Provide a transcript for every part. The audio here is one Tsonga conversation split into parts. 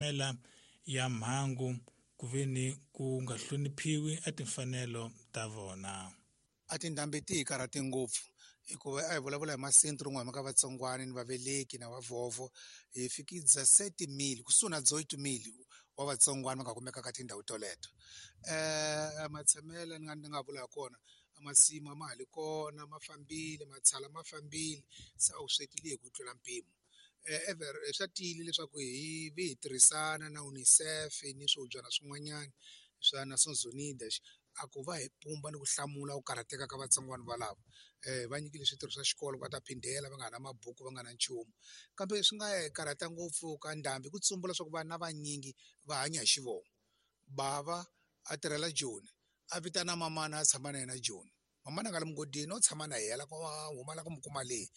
Mela ya mhangu ku ve ni ku nga hloniphiwi a timfanelo ta vona. A tindhambi ti hi karhate ngopfu hikuva a hi vulavula hi masentro rin'we ka vatsongwana ni vaveleki na vavhovho hi fiki 17 000 kusuhi na 18 000 wa vatsongwana va nga kumeka ka tindhawu toleto. Matshamelo ni nga ni nga vula ha kona a masimu a ma ha li kona ma fambile matshala ma fambile se a wu swekile hi ku tlula mpimo. Ever swa tiyile leswaku hi vi hi tirhisana na UNICEF ni swihubyana swin'wanyana swa Nations Unidas a ku va hi pumba ni ku hlamula ku karhateka ka vatsongwana valavo. Va nyikile switirho swa xikolo va ta phindela va nga ha na mabuku va nga na nchumu kambe swi nga hi karhata ngopfu ka ndhambi ku tsumbula leswaku vana vanyingi va hanya hi xivongo. Bava a tirhela Joni a vitana mamana a tshama na yena Joni mamana a nga le mugodini o tshama na yena ku huma la ku mu kuma le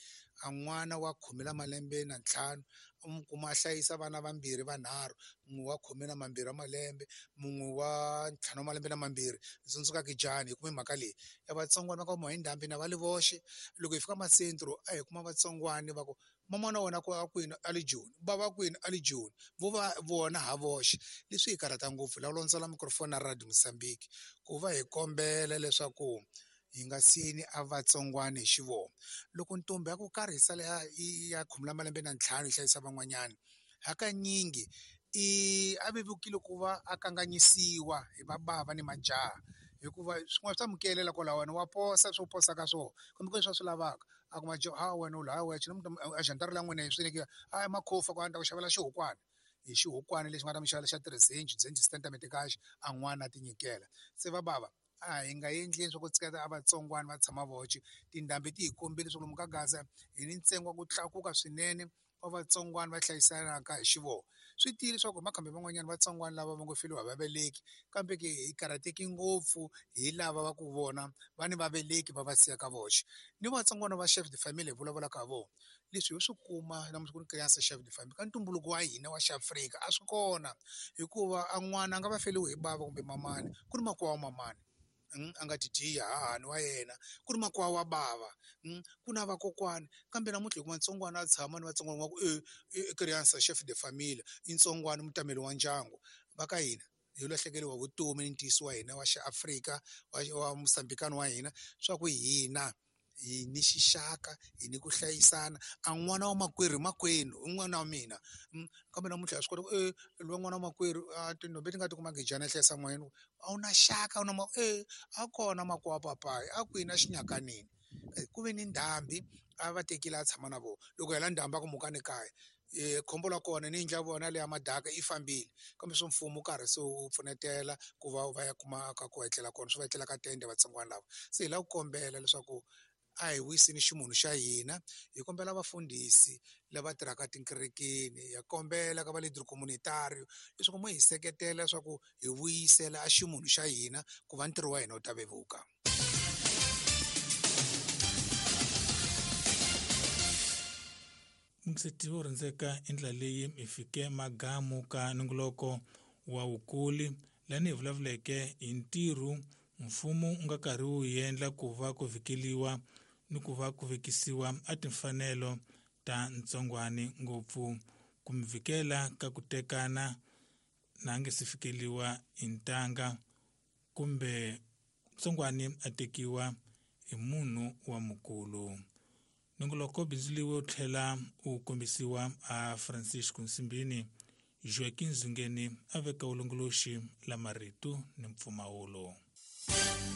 a n'wana wa khume la malembe na ntlhanu u mu kuma a hlayisa vana vambirhi vanharhu mun'we wa khume na mambirhi wa malembe mun'we wa ntlhanu wa malembe na mambirhi. Ndzi tsundzuka Kijani hi kume mhaka leyi ya vatsongwana va ka huma hi ndhambi na va li voxe. Loko hi fika masentro a hi kuma vatsongwani va ku mamana wena ku a kwini a le Joni bava kwini a le Joni vo va vona ha voxe. Leswi hi karhata ngopfu la londzela microphone na Radio Mozambique ku va hi kombela leswaku hi nga siyini a vatsongwana hi xivongo. Loko ntombi ya ku karhi yi sala ya khume la malembe na ntlhanu yi hlayisa van'wanyana hakanyingi i a vevukile ku va a kanganyisiwa hi vabava ni majaha hikuva swin'wana swi ta mukelela kwalawani wa posa swo posa ka swona kumbe ku leswi a swi lavaka a kuma ha wena u la wexe a xantara la n'wina hi swi a makhofa ku a ni ta ku xavela xihukwana hi xihukwana lexi nga ta mi xavela xa tirhizenji zenji sitatimende a n'wana a ti nyikela se va bava a hi nga endleni swa ku tshiketa a vatsongwana va tshama voxe. Tindhambi ti hi kombile leswaku lomu ka Gaza hi ni ntsengo wa ku tlakuka swinene wa vatsongwana va hlayisanaka hi xivongo. Swi tiyile leswaku hi makhambi man'wanyana vatsongwana lava va ngo feriwa hi vaveleki kambe ke hi karhateki ngopfu hi lava va ku vona va ni vaveleki va va siyaka voxe ni vatsongwana va chef de famille hi vulavulaka ha vona. Leswi ho swi kuma namuntlha ku ni criança chef de famille ka ntumbuluko wa hina wa xiAfrika a swi kona hikuva a n'wana a nga va feriwe hi bava kumbe mamani ku ri makwavo wa mamani a nga ti dyiya hahani wa yena ku ri makwavo wa bava ku na vakokwani kambe namuntlha hi kuma ntsongwana a tshama ni vatsongwana va ku e criança chef de famille i ntsongwana mutameli wa ndyangu va ka hina hi lahlekeriwa vutomi ni ntiyiso wa hina wa xiAfrika wa Mozambikani wa hina swa ku hina hi ni xixaka hi ni ku hlayisana a n'wana wa makwerhu makwenu i n'wana wa mina kambe namuntlha ha swi kota ku e loyi n'wana wa makwerhu a tintombi ti nga ti kuma gejana yi hlayisa n'wana a wu na xaka a wu na e a kona makwavo papayi a kwini a xinyakanini ku ve ni ndhambi a va tekile a tshama na vona loko hela ndhambi a ku mukani kaya khombo la kona ni yindlu ya vona leya madaka yi fambile kambe swo mfumo karhi se wu pfunetela ku va va ya kuma ka ku etlela kona swi va etlela ka tende vatsongwana lava se hi lava ku kombela leswaku a hi wiseni ximunhu xa hina hi kombela vafundhisi lava tirhaka tikerekeni ha kombela ka va leader communitario leswaku mo hi seketela leswaku hi vuyisela a ximunhu xa hina ku va ntirho wa hina wu ta vevuka. Mukiseti wo rhandzeka i ndlela leyi hi fike magamu ka nongoloko wa wukuli lani hi vulavuleke hi ntirho mfumo wu nga karhi wu endla ku va ku vhikeliwa ni ku va ku vekisiwa a timfanelo ta ntsongwani ngopfu ku mi vhikela ka ku tekana na nge se fikeliwa hi ntanga kumbe ntsongwani a tekiwa hi munhu wa mukulu. Nongoloko bindzuriwe wu tlhela wu kombisiwa a Francisco Nsimbini Joaquim Zungeni a veka vulongoloxi la marito ni mpfumawulo.